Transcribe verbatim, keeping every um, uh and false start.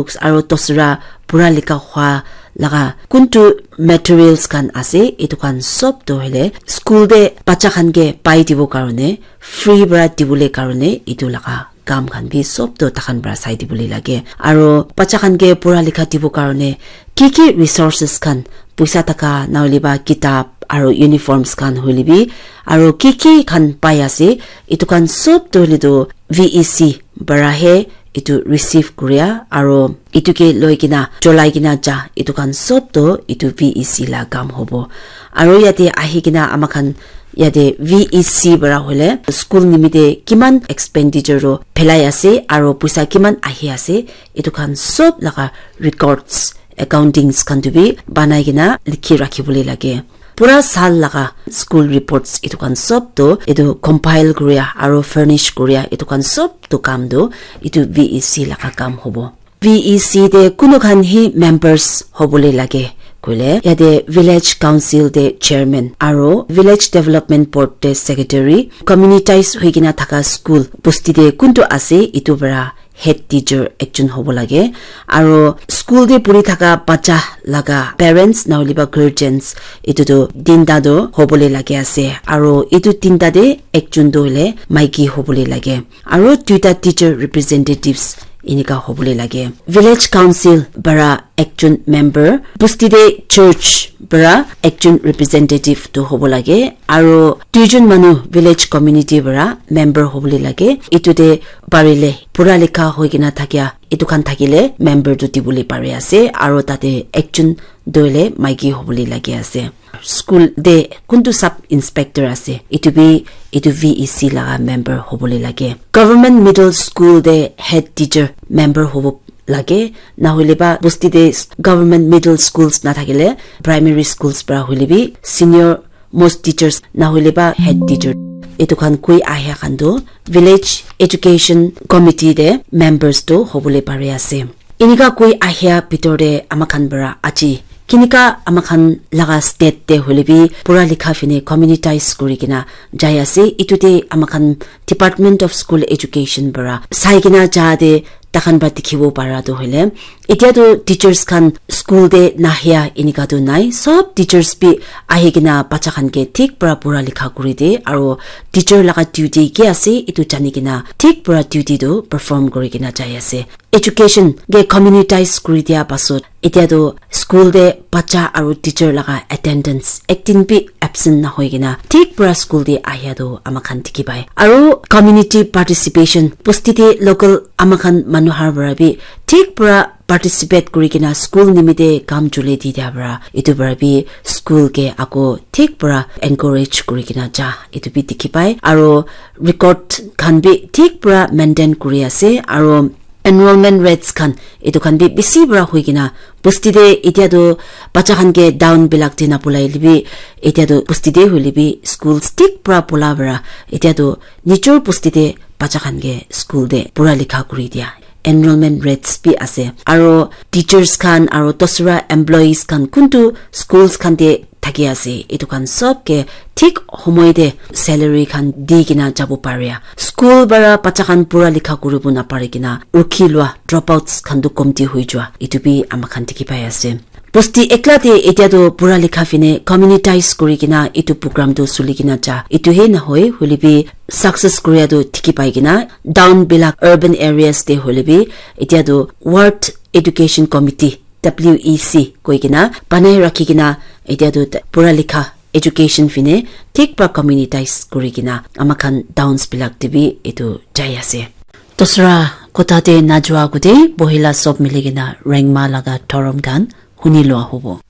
books, aro tosra pura likha hua laga kuntu materials khan ase, etu khan sob toh hoile school te bacha khan ke pai dibo karone, free para dibole karone etu laga kam khan bi sob toh takhan para sai dibole lage. Aro bacha khan ke pura likha dibo karone ki ki resources khan, puisa taka na hoile ba kitab aro uniforms khan hoile bi, aro ki ki khan pai ase, etu khan sob toh hoile toh V E C para he etu receive kuria aro etu ke loi kena cholai kena ja, etu khan sob toh etu V E C la kam hobo. Aro yate ahi kena ama khan yate V E C para hoile school nimite kiman expenditure ro phelai ase aro puisa kiman ahi ase, etu khan sob laga records, accountings khan tu bi banai kena likhi rakhi bole lage. Pura sal laga school reports etu khan sob toh etu compile kuria aro furnish kuria etu khan sob toh kam toh etu V E C laga kam hobo. V E C te kunu khan hi members hobole lage koile, yate village council te chairman aro village development board te secretary, communitize hoi kena thaka school bosti te kuntu ase, etu para head teacher ekjon hobo lage, aro school te puri thaka bacha laga parents na hoile ba guardians, etu tu tinta tu hobole lage ase, aro etu tinta te ekjon tu hoile maiki hobole lage, aro duita teacher representatives enika hobole lage. Village council para ekjon member, bosti te church para ekjon representative tu hobo lage, aro duijon manu village community para member hobole lage. Etu te parile pura likha hoi kena thakia etu khan thakile member tu dibole pari ase, aro tate ekjon tu hoile maiki hobole lage ase. School te kuntu sub inspector ase, etu bi etu V E C laga member hobole lage. Government middle school te head teacher member hobo lage, na hoile ba bosti te government middle schools na thakile primary schools para hoile bi senior most teachers na hoile ba head teacher, etu khan koi ahia khan tu village education committee te members tu hobole pari ase. Enika koi ahia bitor te ama khan para aji kinika ama khan laga state te hoile bi pura likha fine communitize kuri kena jai ase. Etu te ama khan Department of School Education para sai kena ja te takhan para dikhibo para tu hoile, etia tu teachers khan school te nahia enika tu nai, sob teachers bi ahi kena bacha khan ke thik para pura likha kuri de, aro teacher laga duty ki ase etu jani kena thik para duty tu perform kuri kena jai ase. Education ke communitize kuri dia pasot, etia tu school te bacha aro teacher laga attendance ekdin bi absent na hoi kena thik para school te ahia tu ama khan dikhi pai. Aro community participation, bosti te local ama khan manu har para bi thik para participate kuri kena school nimite kam chule di dia para, etu para bi school ke ako thik para encourage kuri kena ja, etu bi dikhi pai. Aro record khan bi thik para maintain kuri ase, aro enrollment rates khan, etu khan bi bisi para hoi kena bosti te etia tu bacha khan ke down bilak te na bulai le bi, etia tu bosti te hoile bi schools thik para bula para, etia tu nijor bosti te bacha khan ke school te pura likha kuri dia enrollment rates bi ase. Aro teachers khan aro dusra employees khan kuntu schools khan te thaki ase, etu khan sob ke thik homoi te salary khan di kena jabo pare. School para bacha khan pura likha kuribo na pari kena rukhi lua, dropouts khan tu komti hoi jua, etu bi ama khan dikhi pai ase. Bosti ekla te etia tu pura likha fine communitize kuri kena etu program tu suli kena ja, etu he na hoi, hoile bi success kuria tu dikhi pai kena down bilak urban areas te hoile bi etia tu ward education committee, W E C koi kena banai rakhi kena etia tu pura likha education fine thik para communitize kuri kena ama khan towns bilak te bi etu jai ase. Dusra kotha te na jua agute bohila sob mili kena Rengma laga thorom khan huni lua hobo.